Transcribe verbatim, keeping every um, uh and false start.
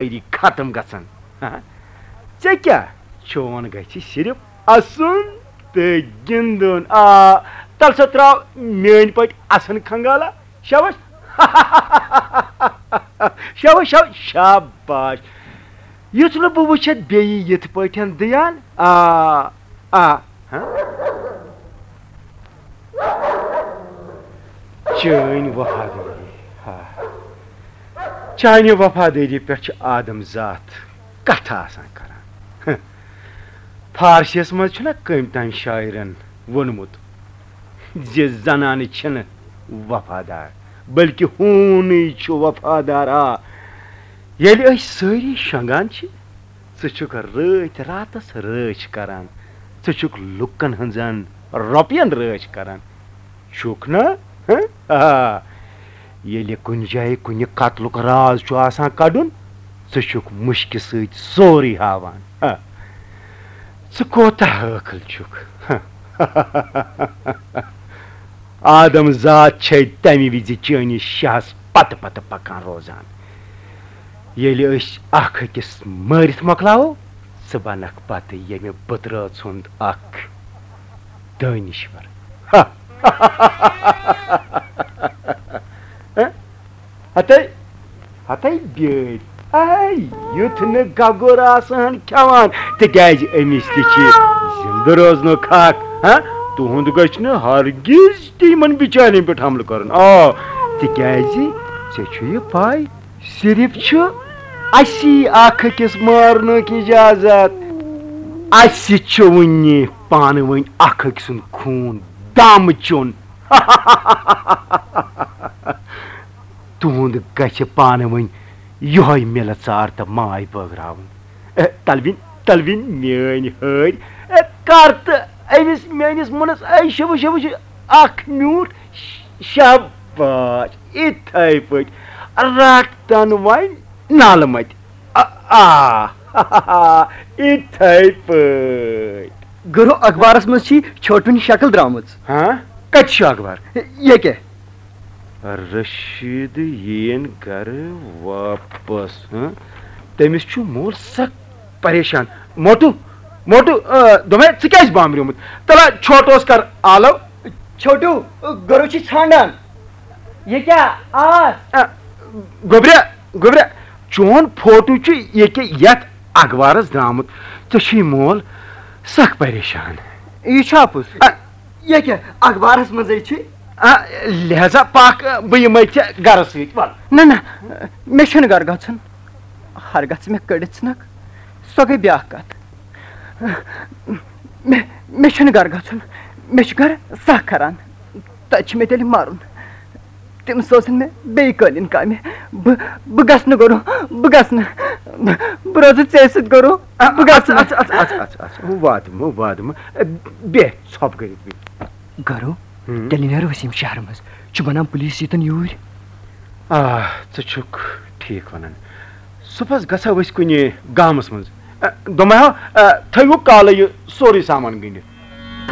سٲری ختم گژھن۔ ہا؟ ژےٚ کیٛاہ؟ چون گژھِ صرف اسُن تہٕ گِنٛدُن۔ آ، تَلہٕ سا ترٛاو میٛٲنۍ پٲٹھۍ اسُن کھنگالا۔ شاباش۔ شاباش، شاباش، شاباش۔ یُتھ نہٕ بہٕ وٕچھتھ بیٚیہِ یِتھ پٲٹھۍ دیان۔ آ، آ، ہاں؟ چٲنۍ وفادٲری۔ ہا۔ چانہِ وفادٲری پٮ۪ٹھ چھِ آدم ذات کتھٕ آسان کران۔ ہہ۔ فارسیس منٛز چھُنہ کٔمۍ تام شاعرن ووٚنمُت زِ زنانہٕ چھِنہٕ وفادار، بلکہِ ہوٗنٕے چھُ وفادار۔ آ، ییٚلہِ أسۍ سٲری شۄنٛگان چھِ، ژٕ چھُکھ رٲتۍ راتس رٲچھ کران، ژٕ چھُکھ لُکن ہٕنٛزن رۄپین رٲچھ کران، چھُکھ نا؟ ہہ؟ آ، ییٚلہِ کُنہِ جایہِ کُنہِ قتلُک راز چھُ آسان کڑُن، ژٕ چھُکھ مُشکہِ سۭتۍ سورُے ہاوان۔ ہہ۔ ژٕ کوتاہ عٲقل چھُکھ؟ آدم ذات چھے تمہِ وِزِ چٲنِس شاہس پتہٕ پتہٕ پکان روزان۔ ییٚلہِ أسۍ اکھ أکِس مٲرِتھ مۄکلاوو، ژٕ بنکھ پتہٕ ییٚمہِ بٕترٲژ ہُنٛد اکھ دٲنِشور۔ ہتے، ہتے بیٲرۍ۔ اے، یُتھ نہٕ گگُر آسہٕ ہن کھٮ۪وان، تِکیازِ أمِس تہِ چھِ زِندٕ روزنُک حق۔ ہا؟ تُہُنٛد گژھِ نہٕ ہرگز تہِ یِمن بِچارٮ۪ن پٮ۪ٹھ حملہٕ کرُن۔ آ، تِکیازِ ژےٚ چھُ یہِ پاے، صرف چھُ اسی اکھ أکِس مارنُک اجازت۔ اسہِ چھُ وُنہِ پانہٕ ؤنۍ اکھ أکۍ سُنٛد خوٗن دم چیوٚن۔ تُہُنٛد گژھِ پانہٕ ؤنۍ یِہوٚے مِلہٕ ژار تہٕ ماے بٲگراوُن۔ اے، تلوِنۍ، تلوِنۍ میٲنۍ ہٲرۍ، اے، کر تہٕ أمِس میٲنِس مُنس، اے، شِوٕ، شِوٕ، شِوٕ، اکھ میوٗٹھ ش-، شاباش، یِتھے پٲٹھۍ رٹتن وۄنۍ نالہٕ متہِ۔ آ، آ، یِتھے پٲٹھۍ۔ گرو، اخبارس منٛز چھِ چھوٹوٕنۍ شکل درٛامٕژ۔ ہاں؟ کتہِ چھُ اخبار؟ ییٚکے۔ رشید یِیِن گرٕ واپس، ہاں؟ تٔمِس چھُ مول سخ پریشان۔ موٹو، موٹو، آ، دوٚپمَے، ژٕ کیٛازِ بامبریومُت؟ تَلہ، چھوٹوس کر آلو۔ چھوٹو، گرو چھِ ژھانڈان۔ یہِ کیٛاہ آس؟ آ، گوٚبریا، گوٚبریا، چون فوٹو چھُ ییٚکیٛاہ یَتھ اخبارس درٛامُت۔ ژےٚ چھُے مول سخ پریشان۔ یہِ چھا پوٚز؟ آ۔ یہِ کیٛاہ اخبارس منٛزٕے چھُ؟ آ، لہذا پکھ، بہٕ یِمَے ژےٚ گرس سۭتۍ، وَل۔ نہ، نہ، مےٚ چھُنہٕ گرٕ گژھُن۔ ہرگژھ مےٚ کٔڑِتھ ژھٕنکھ، سۄ گٔے بیٛاکھ کتھ۔ مےٚ، مےٚ چھُنہٕ گرٕ گژھُن، مےٚ چھُ گرٕ سخ کران۔ تتہِ چھُ مےٚ تیٚلہِ مرُن۔ تِم سوزن مےٚ بیٚیہِ قٲلیٖن کامہِ۔ بہٕ، بہٕ گژھٕ نہٕ گرو، بہٕ گژھٕ نہٕ۔ بہٕ روزٕ ژےٚ سۭتۍ گرو، بہٕ گژھٕ نہٕ۔ اَژٕ، اَژٕ، اَژٕ، اَژٕ، اَژٕ، اَژٕ۔ واتہٕ مہٕ، واتہٕ مہٕ۔ بیٚہہ ژھۄپہٕ کٔرِتھ بیٚہہ۔ گرو، ہُم۔ تیٚلہِ نیرو أسۍ ییٚمہِ شہرٕ منٛز۔ چھُ بنان پُلیٖس ییٖتن یوٗرۍ۔ آ، ژٕ چھُکھ ٹھیٖک ونان۔ صُبحس گژھو أسۍ کُنہِ گامس منٛز۔ آ، دوٚپمَے ہا، آ، تھٲیِو کالے یہِ سورُے سامان گٔنٛڈِتھ۔